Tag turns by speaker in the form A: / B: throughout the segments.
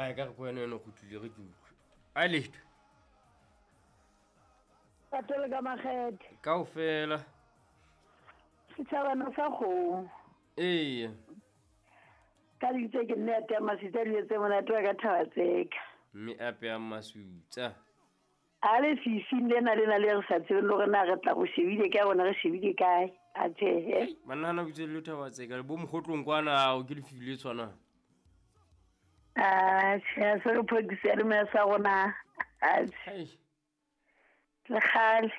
A: Ai ka re ko wena eno kgutlile re ke utlwe. Ai letho.
B: Patele ka makgethe.
A: Kaofela.
B: Setšhabana sa kgomo.
A: Ee.
B: Ka ditse ke nne ya tea masutsa dijo tse monate wa ka thaba tseka.
A: Mme a peyang masutsa.
B: A le fifing lena lena le re sa tsebeng le gore na re tla go shebile kae gona re shebile kae. A tjhehe.
A: Banna hana botse le thaba tseka le bo mogotlong kwana ao ke lefifi le tshwanang.
B: A tjhe se re phokisa ya le sa rona. A tjhe. Le kgale.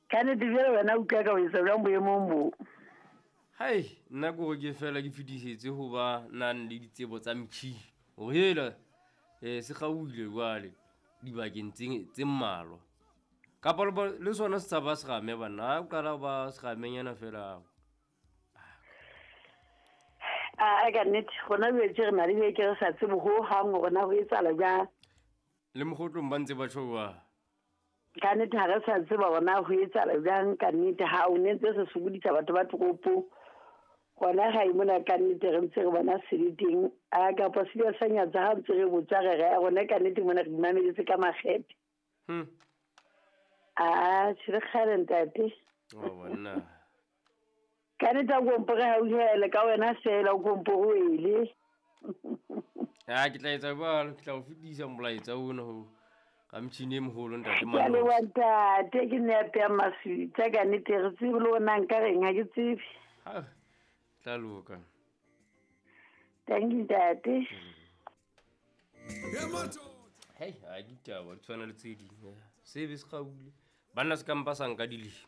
B: Ka nnete bjale wena utlwa ka o etsa jwang boemong bo?
A: Hai, nna ke gore ke fela ke fetisetse ho ba nang le ditsebo tsa metjhini. Hore hela se kgaohile jwale dibakeng tse mmalwa. Kapa le sona se tshaba serame banna, ha o qala ho ba seramenyana fela.
B: A ka nnete gona jwale tje re na le beke re sa tsebe ho hang hore na ho etsahala jwang.
A: Le mogotlong ba ntse ba tjho jwang?
B: Ka nnete ha re sa tseba hore na ho etsahala jwang ka nnete ha o ne ntse se sokodisa batho ba toropo. Gona gae mona ka nnete re ntse re bona se le teng. A kapa se sa nyatsa ha ntse re botsa re re rona ka nnete mona re imameletse ka makgethe. A tjhe le kgale ntate.
A: Oh banna.
B: Ka nnete a kompore ha o hele ka wena fela o kompore o ele.
A: A ke tla etsa jwalo, ke tla o fetisa molaetsa ona ho ka motjhini e moholo ntate
B: Ke a
A: Manosi.
B: leboha ntate, ke nne ya peyang maswitsa ka nnete re tsebe le hore na nka reng ha ke tsebe.
A: Ha, tla loka.
B: Thank you ntate.
A: Hei, ha ke ditaba di tshwana le tse ding. Sebe se kgaohile. Banna se ka mpa sa nka dilemo.